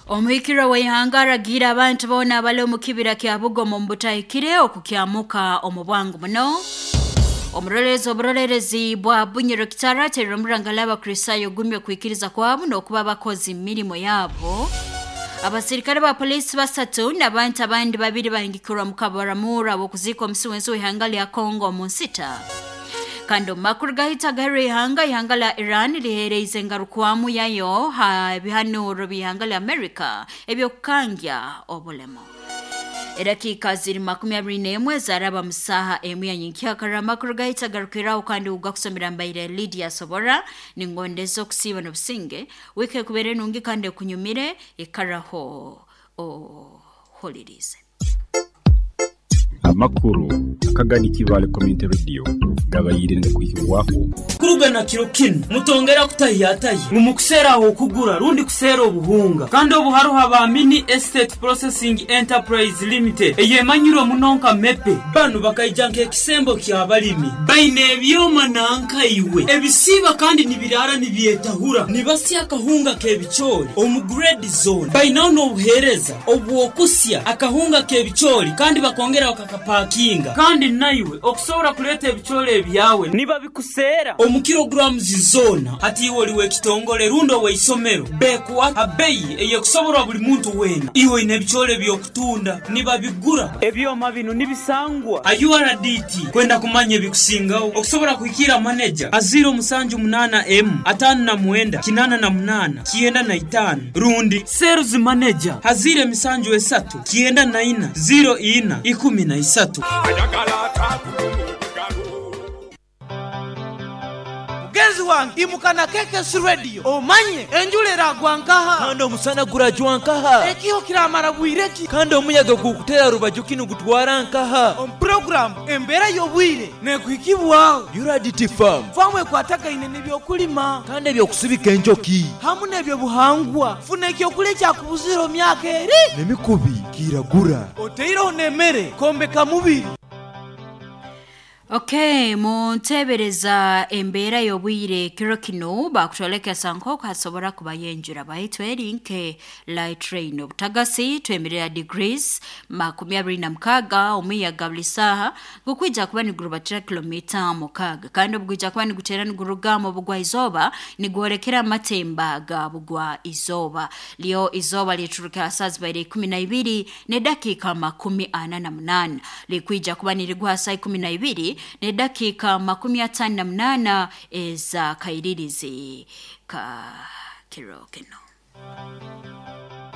Omuhikirwa w'ihanga aragiire abantu boona abali omu kibira kya Bugomo omu butahikire okukyamuka omu bwangu muno. Omurorerezi oburorerezi bwa Bunyoro Kitara aterera omurangala Abakristaayo ogumya okwikiriza kwabo n'okuba abakozi mu mirimo yabo. Abasirikare ba poliisi basatu n'abantu abandi babiri bahingikirwa mu kabaramura b'okuziika omusi w'ensi w'ihanga lya Congo omu nsita. Kandi omu makuru gahita agaherwa ihanga, ihanga lya Iran liheereize engarukwamu yayo ha bihanuro by'ihanga lya America eby'okukangya obulemu. Edakiika ziri 21 zaraba mu saaha emu ya nyenkyakara. Amakuru gahita agarukiraho kandi ugakusomera mbaire Lydia Sobora. Ningondeza okusiiba n'obusinge. Wiiki ekubere nungi kandi ekunyumire, ikaraho ohulirize. Amakuru akagani Kibaale Community Radio gabaire nigakwihibwaho. Kuruga na kiro kinu mutongera kutahyatahya ngu mukuseera ah'okugura rundi kuseera obuhunga. Kandi obu haroho aba Mini Estate Processing Enterprise Limited eyemanyirwe muno nka MEPE. Banu bakaija nk'ekisembo ky'abalimi. Baine ebyoma nanka iwe ebisiiba kandi nibiraara nibyetahura. Nibasya akahunga k'ebicoori omu grade zoona. Bainaho n'obuheereza obw'okusya akahunga k'ebicoori kandi bakongera bakakapakinga. Kandi naiwe okusobora kuleeta ebicoori ebyawe nibabikuseera omu kilograms zoona. Hati iwe oli w'ekitongole rundi ow'eisomero, bekuha ha beyi ey'ekusoborwa buli muntu weena. Iwe oine ebicoori eby'okutunda, nibabigura. Ebyoma binu nibisangwa ha URDT. Kwenda kumanya ebikusingaho, okusobora kuhikiira maneja ha 078 emu 59 88 95 rundi Sales Manager ha 073 94 04 13. Mugenzi wange imuka na KKC Radio omanye enjura eragwa nkaha. Kandi omusana gurajwa nkaha. Ekiho kiramara bwire ki. Kandi omuyaga gukutera rubaju ki nigutwara nkaha. Omu puroguramu Embeera y'obwire nekuhikibwaho. URDT Farm. Faamu ekwatagaine n'ebyokulima. Kandi eby'okusibika enjoki. Hamu n'ebyobuhangwa. Funa ekyokulya ekyakubuzire omu myaka eri. N'emikubi kiragura. Oteireho n'emere kwombeka mubiri. Okay, muntebereza embeera y'obwire kiro kinu bakutwolekesa nk'oku hasobora kubayo enjura baitu eri nke light rain. Obutagasi twemerera degrees 26, omuyaga buli saaha gukwija kuba nigurubatira kilomita 6, kandi obugwija kuba niguteera niguruga mu bugwa izooba nigwolekera amatemba ga bugwa izooba. Lyo izooba liturukira saa zibaire 12 n'edakiika 48, likwija kuba nirigwa saa 12 n'edakiika 58 eza kairirizi ka kiro kinu.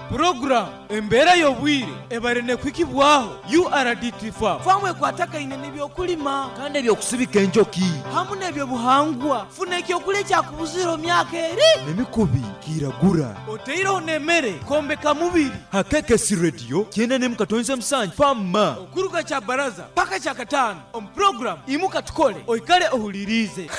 Puroguramu Embeera y'obwire ebaire nekuhikibwaho URDT Farm. Faamu ekwatagaine n'ebyokulima. Kandi eby'okusibika enjoki. Hamu n'ebyobuhangwa. Funa ekyokulya ekyakubuzire omu myaka eri. N'emikubi kiragura. Oteireho n'emere kwombeka mubiri. Ha KKC Radio 97.7 Farm. Okuruga Kyabaraza paka Kyakataano omu puroguramu Imuka Tukole oikale ohuliriize.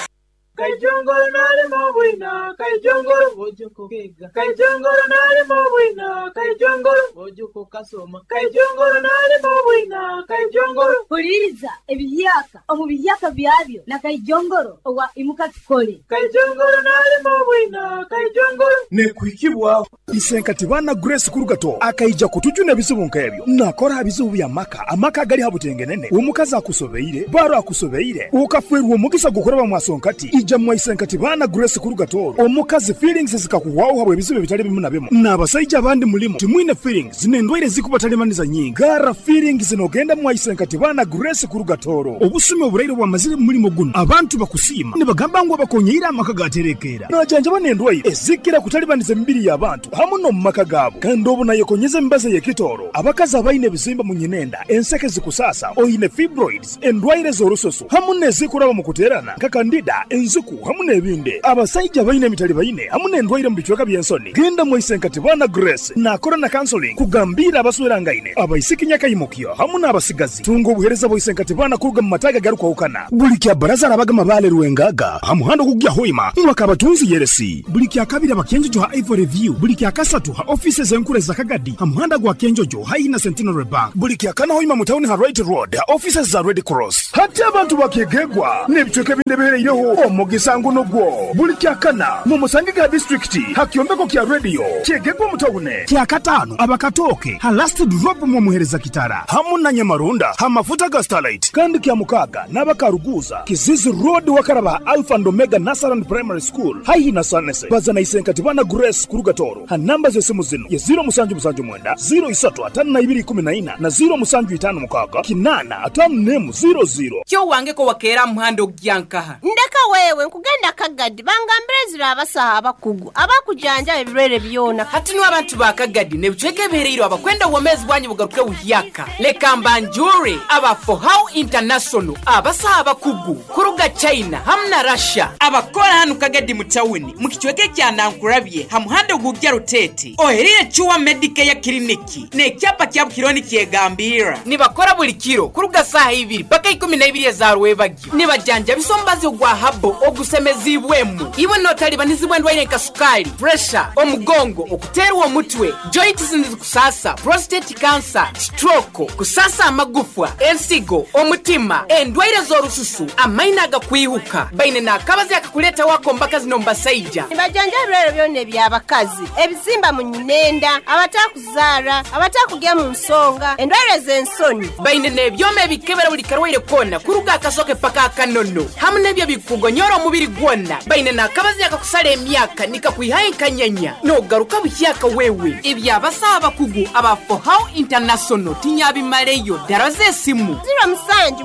Kaijongoro nalima obwina, Kaijongoro Bojuko kega, Kaijongoro nalima obwina, Kaijongoro Bojuko kasoma, Kaijongoro nalima obwina, Kaijongoro. Huliriza ebihyaka omu bihyaka byabyo na Kaijongoro owa Imuka Tukole. Kaijongoro nalima obwina, Kaijongoro. Nekuhikibwaho. Isenkati bana Grace Kurugato akaija kutujuna ebizibu nk'ebyo. Nakora ha bizibu bya maka, amaka agali ha butengenene. Omukazi akusobeire, baro akusobeire, ukafwerwa omugisa gukuraba mwasonkati. Ija mwa Isenkati bana Grace Kurugato. Omukazi feelings zikakuhwaho habwe ebizibu ebitali bimu na bimu. N'abasaija abandi mulimo timwine feelings n'endwaire zikubatalimaniza nyingi. Gara feelings nogenda mwa Isenkati bana Grace Kurugatoro. Obusumi oburaire bwamazire mu mulimo guno. Abantu bakusiima nibagamba ngu abakonyeire amaka gaterekeera. Najanjaba n'endwaire ezikira kutalibaniza emibiri y'abantu hamu n'omu maka gaabo. Kandi obu nayekonyeza emibazi ey'ekitooro. Abakazi abaine ebizimba mu nyinenda, enseke zikusasa, oine fibroids, endwaire z'orususu hamu n'ezikuraba mu kuteerana nka kandida, enziku hamu n'ebindi. Abasaija abaine emitali baine hamu n'endwaire mu bicweka by'ensoni. Genda mwa Isenkati bana Grace nakora na counseling kugambiira abaswerangaine, abaisiki nyakaimukyo hamu n'abasigazi. Tunga obuheereza bwa Isenkati bana kuruga mu mataaga agarukwahukana. Buli kya baraza arabaga mabaale Rwengaga ha muhanda ogugya Hoima mwaka abatunzi Yeresi. Buli kya kabiri abakenjojo ha Ivory View. Buli kya kasatu ha offices enkuru za Kagadi ha muhanda gwa Kenjojo haihi na Centenary Bank. Buli kya kana Hoima mu town ha Right Road ha offices za Red Cross. Hati abantu bakegegwa n'ebicweka ebindi ebihereireho omu Omugisa nguno gwo buli kyakana mu Musangiga district hakyombeko kya radio kyegegwa mutawune kyakatano abakatoke ha last drop mu muhereza kitara hamu na Nyamarunda hamafuta ga Starlight kandi kya mukaga n'abakaruguza Kizizi Road wakaraba Alpha and Omega Nasaran Primary School haihi na Sanese bazana isenkati bana Grace Kurugatoro ha namba z'esimu zino ya 0779 035214 na 0756 8 00. Kyo wange ko wakera muhando gyankaha ndeka wewe nkugenda Kagadi bangambire zira abasaha abakugu abakujanja ebirwere byona hati no abantu ba Kagadi ne bucweke bereiro abakwenda womezi bwanyu bugaruke buhyaka leka mbanjure aba For How International abasaha abakugu kuruga China hamna Russia abakora hanu Kagadi mu town mu kicweke kya Nankurabye ha muhando gugya Rutete oherire Chuwa Medicare Clinic ne kyapa kya Bukironi kyegambira nibakora buli kiro kuruga saha ibiri paka 12 za rwebagyo nibajanja bisombazi ogwa habo ogusemezibwemu iwe notaliba nizibwendwaire nka sukali pressure omugongo okuterwa omutwe joints kusasa prostate cancer stroke kusasa amagufwa ensigo omutima endwaire z'orususu amaina agakwihuka baine nakabazi akakuleta wako mbaka zino mbasaija nibajanja ebirwere byonna eby'abakazi ebizimba mu nyinenda abatakuzara abatakugya mu nsonga endwaire z'ensoni baine n'ebyoma ebikebera buli karwaire kona kuruga akasoke paka akanono hamu n'ebyo bikugonyora omubiri gwona baine nakabazi akakusala emyaka nikakwihaye nkanyanya nogaruka buhyaka wewe ebyabasaha abakugu aba For How International tinyabimaleyo dara z'esimu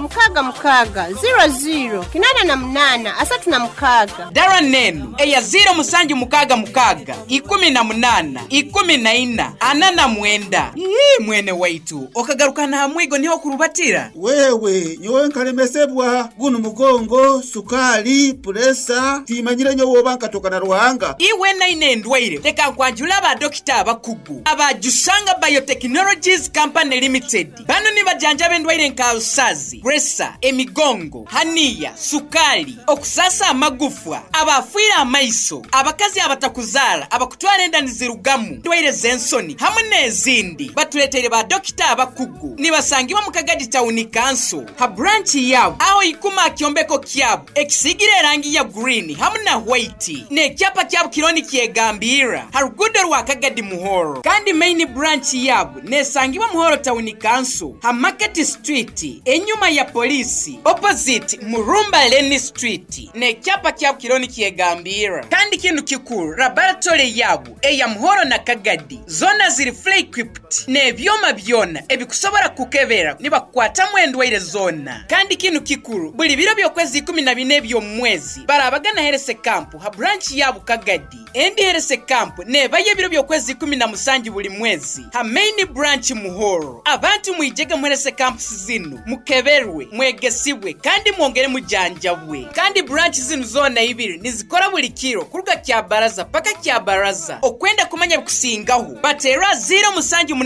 0766 00 88 36 dara nenu eya 0766 18 14 49. Ii mwene waitu okagaruka na hamwigo niho kurubatira wewe nyowe nkalemesebwa guno mugongo sukali puresa timanyire nyowe obanka tokana ruhanga iwe naine ndwaire leka nkwanjula aba dokita abakugu abajusanga Biotechnologies Company Limited bano nibajanja bendwaire nka usazi presa emigongo haniya sukali okusasa amagufwa abafuira amaiso abakazi abatakuzala abakutwala enda nizirugamu ndwaire z'ensoni hamwe n'ezindi batuletere ba dokita abakugu nibasangibwa mu Kagadi Town Council ha branch yabo aho ikuma kyombeko kyabo ekisigire erangi ya green hamwe na white n'ekyapa kyabo kironi kyegambira ha rugudo rwa Kagadi Muhoro kandi main branch yabo nesangibwa Muhoro Town Council ha Market Street enyuma ya polisi opposite Murumba Lane Street n'ekyapa kyabo kironi kyegambira kandi kintu kikuru laboratory yabo eya Muhoro na Kagadi zona ziri fully equipped n'ebyoma byona ebikusobora kukebera nibakwatamu endwaire zona kandi kintu kikuru buli biro by'okwezi 14 eby'omwezi barabagana herese kampu ha branch yabo Kagadi endi herese kampu nebaye biro by'okwezi 17 buli mwezi ha main branch Muhoro abantu mwijege muherese kampu zinu mukeberwe mwegesibwe kandi mwongere mujanjabwe kandi branch zinu zona ibiri nizikora buli kiro kuruga kya baraza paka kya baraza okwenda kumanya kusingaho batera 0786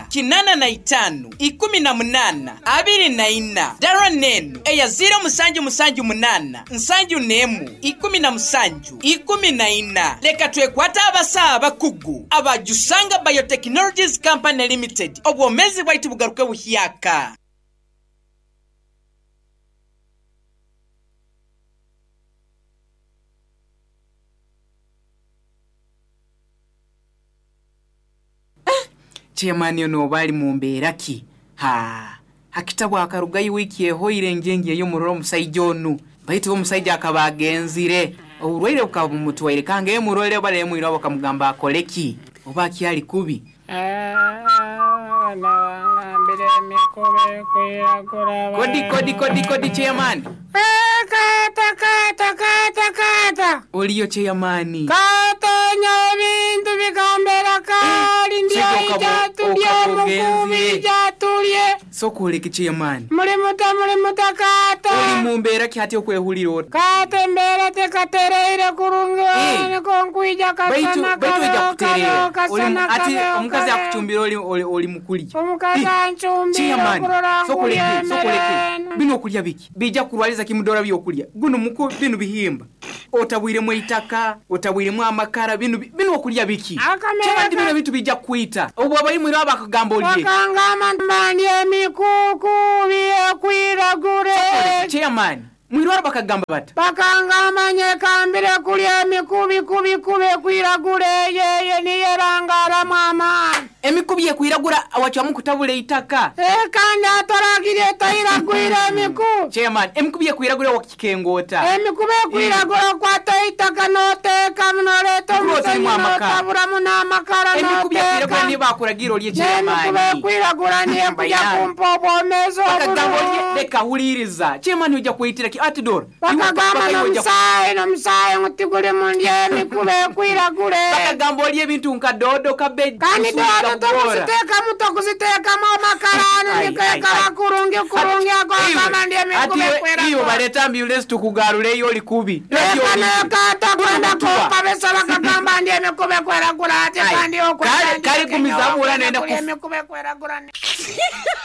85 18 24 dara nenu eya 0778 71 17 14. Leka twekwata abasaha abakugu abajusanga Biotechnologies Company Limited obwomezi bwaitu bugaruke buhyaka. Chairman yono bali mu mbeera ki ha hakitabwa akarugayi wiki ehoire njenge yo muroro omusajja onu baitu omusajja akabagenzire oburwaire bukaba bumutwaire kange murore bale mwira bakamugamba akoleki oba kyali kubi kodi kodi kodi kodi chairman kata kata kata kata oliyo chairman kata nyabintu bikambera kali ndiyo ijatulye mukubi ijatulye sokuleke chairman muri muta kata oli mumbeera ki hati okwehulira oti kata embeera tekatereire kurungi niko nkwija kasana kasana ati omukazi akuchumbira oli mukulya omukazi anchumbira okurora nkulya sokuleke bino okulya biki bija kulwaliza kimudora byokulya guno muko bino bihimba otabwiremu eitaka otabwiremu amakara bino bino okulya biki kyabandi bino bintu bijja kuita obwo abayimwira abakagamba olye bakangamba mbandi emikuku byekwiragure chairman Mwirwaro bakagamba bata? Bakangamba nyekambire kulya emikubi kubi kubi ekwiragura eyeye niyo erangaramu amaani. Emikubi ekwiragura wacwamu kutabula eitaka. Kandi atoragire etairagwire emikubi. Chairman, emikubi ekwiragura wakikengoota. Emikubi ekwiragura okwata eitaka n'oteekamu n'oleeta Kuba otarimu omusenyu amakara. n'otaburamu n'amakara Emikubi ekwiragura n'oteeka. niyo bakuragira olye N'emikubi chairman. ekwiragura niyo ekuja kumpa obwomeezi Bakagamba olye obulungi. leka huliriza. Chairman ojja kweyitira ki atidor. Bakagamba n'omusaayi n'omusaayi ngu tiguli mu ndya emikubi ekwiragura. Bakagamba olye ebintu nka dodo cabbage. Kandi kuswika, dodo kugora. tokuziteekamu tokuziteekamu amakara ano Ai, nikeekaba ai, ai. kurungi kurungi ago agamba ndi emikubi Ati iwe ekwiragura. baleta ambulance tukugaruleyo oli kubi. Leka nekaata kwenda kumpabisa bakagamba ndi emikubi ekwiragura ate Ai, kandi okwenda kale- kale ndi gumizamura Kenya nenda wakwenda kulya kufu- emikubi ekwiragura.